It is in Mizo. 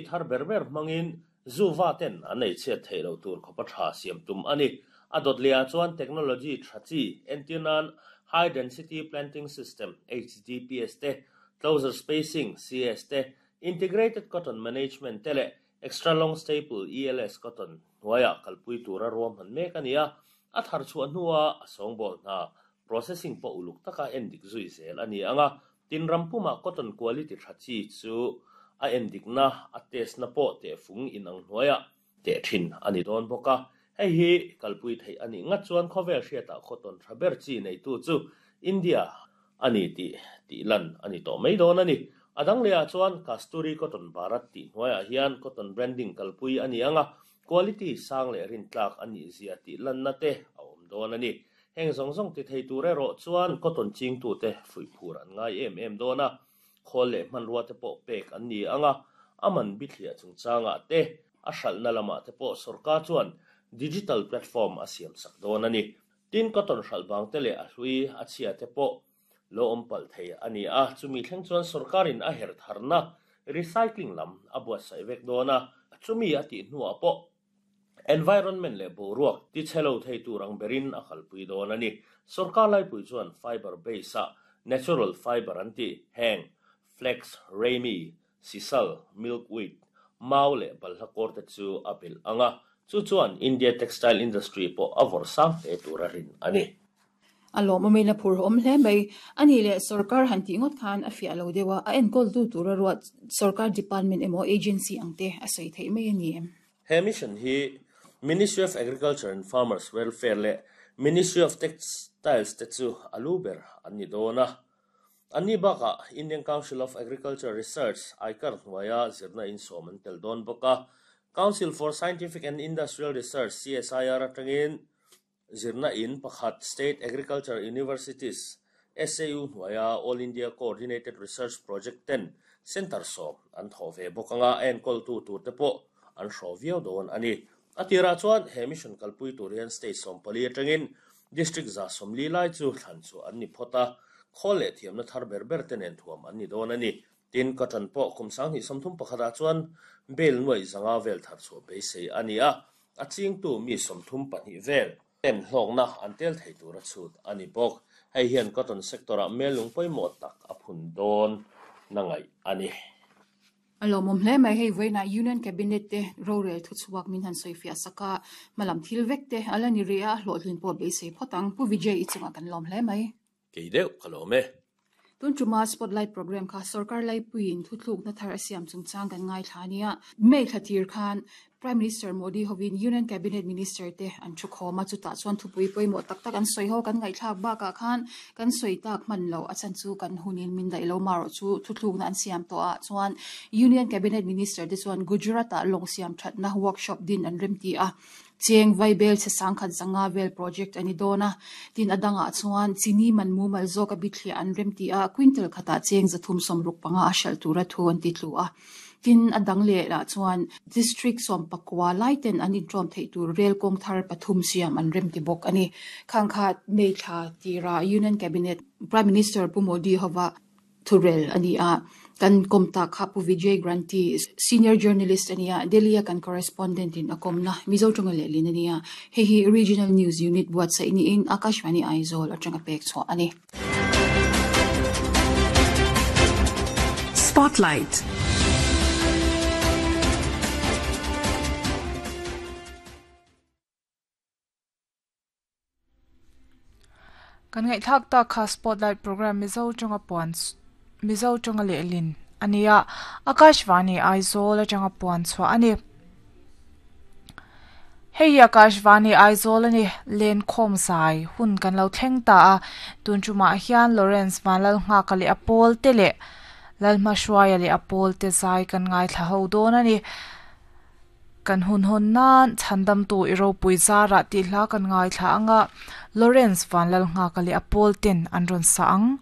thar ber ber hmangin zu va ten an ei chhiat theih loh tur khawpa tha siam tum a ni. A dawt lehah chuan technology tha chi entir nan High Density Planting System, HDPS, te, Closer Spacing, CS, te, Integrated Cotton Management te leh Extra Long Staple, ELS, cotton hnuaiah kalpui tura ruahman mek a ni a, a thar chhuah hnua a sawngbawl hna processing pawh uluk taka endik zui zel a ni ang a, tin ram pumah cotton quality tha chi chu a endikna, a test na pawh tehfung inang hnuaiah teh thin a ni dawn bawk a. Hei hi kalpui theih a nih ngat chuan khawvel hriatah cotton tha ber chi neitu chu India a ni tih tih lan a ni tawh mai dawn a ni. A dang lehah chuan Kasturi Cotton Bharat tih hnuaiah hian cotton branding kalpui a ni ang a, quality sang leh rintlak a nih zia tih lanna te a awm dawn a ni. Heng zawng zawng ti thei tur erawh chuan cotton chingtute fuihphur an ngai em em dawn a, khawl leh hmanrua te pawh pek an ni ang a, a man bithliah chungchangah te, a hralhna lamah te pawh sorkar chuan digital platform a siamsak dawn a ni. Tin, cotton hralh bang te leh a hlui a chhia te pawh lo awm palh thei a ni a, chumi thleng chuan sorkarin a herh tharna recycling lam a buatsaih vek dawn a, chumi a tih hnuah pawh environment leh boruak tichhe lo thei tur ang berin a kalpui dawn a ni. Sorkar laipui chuan fiber base ah natural fiber an tih heng flax, ramie, Sisal, milkweed, mau leh balhla kawr te chu a belh ang a, chu chuan India textile industry pawh a vawrh sang hle tur a rin a ni. A lawmawmin a phurhawm hle mai. A nih leh sorkar han tih ngawt khan a fiah lo deuh a, a enkawltu tura ruat sorkar department emaw agency ang te a sawi theih mai a ni em? He mission hi Ministry of Agriculture and Farmers Welfare leh Ministry of Textiles te chu a lu ber an ni dawn a. Anni bakah Indian Council of Agriculture Research, ICAR, hnuaia zirna insawm an tel dawn bawk a. Council for Scientific and Industrial Research, CSIR, atangin zirna in pakhat State Agriculture Universities, SAU, hnuaia All India Coordinated Research Project ten centre sawm an thawh ve bawk anga a enkawltu turte pawh an hrawh viau dawn a ni. A tirah chuan he mission kalpui tur hian state 14 atangin District 140 lai chu thlan chu an ni phawt a, khawl leh thiamna thar ber ber te nen thuam an ni dawn a ni. Tin, cotton pawh kum 2031 ah chuan bale nuaih 500 vel thar chhuah beisei a ni a, a chingtu mi 32 vel ten hlawkna an tel thei tur a chhut a ni bawk. Hei hian cotton sector ah mellung pawimawh tak a phun dawn na ngaih a ni. A lawmawm hle mai, hei vawiinah Union Cabinet te rorel thuchhuak min han sawifiah sak a, hmalam thil vek te a la ni rih a, a hlawhtlin pawh beisei phawt ang. Pu Vijay i chungah kan lawm hle mai. Kei deuh ka lawm e. Tun tuma Spotlight Programme kha sorkar laipuiin thuthlukna thar a siam chungchang kan ngaithla a nia. May thla tir khan Prime Minister Modi hovin Union Cabinet Minister te an thu khawm a, chutah chuan thupui pawimawh tak tak an sawi ho kan ngaihthlak bakah khan kan sawi tak hman loh a chhan chu kan hunin min daih lo marawh chu thuthlukna an siam tawh ah chuan Union Cabinet Minister te chuan Gujarat ah lawng siam thatna workshop din an remti a, cheng vaibel chhe sangkhat zanga vel project a ni dawn a, tin a dangah chuan chini man mumal zawk a bithliah an remti a, quintal khatah cheng 365 a hralh tura thu an ti tlu a. Tin, a dang leh lah chuan District 19 lai ten an intawm theih tur rel kawng thar pathum siam an remti bawk a ni. Khang kha May thla tira Union Cabinet Prime Minister Pu Modi hova thurel a ni a, kan kawm tak kha Pu Vijay Granthi, Senior Journalist a ni a, Delhi-a kan Correspondent in a kawmna Mizo tawnga lehlin a ni a, hei hi Regional News Unit buatsaih niin Akashvani Aizawl atanga pek chhuah a ni. Spotlight. Kan ngaihthlak tak kha Spotlight program Mizo tawnga puan Mizo tawnga lehlin a ni a, Akashvani Aizawl atanga puan chhuah a ni. Hei hi Akashvani Aizawl a ni, Lenkhawm zai hun kan lo thleng ta a, tun tumah hian Lawrence Vanlalnghaka leh a pawl te leh Lalhmahruaia leh a pawl te zai kan ngaithla ho dawn a ni. Kan hun hawn nan Chhandamtu i ropui zarah tih hla kan ngaithla ang a, Lawrence Vanlalnghaka leh a pawl ten an rawn sa ang.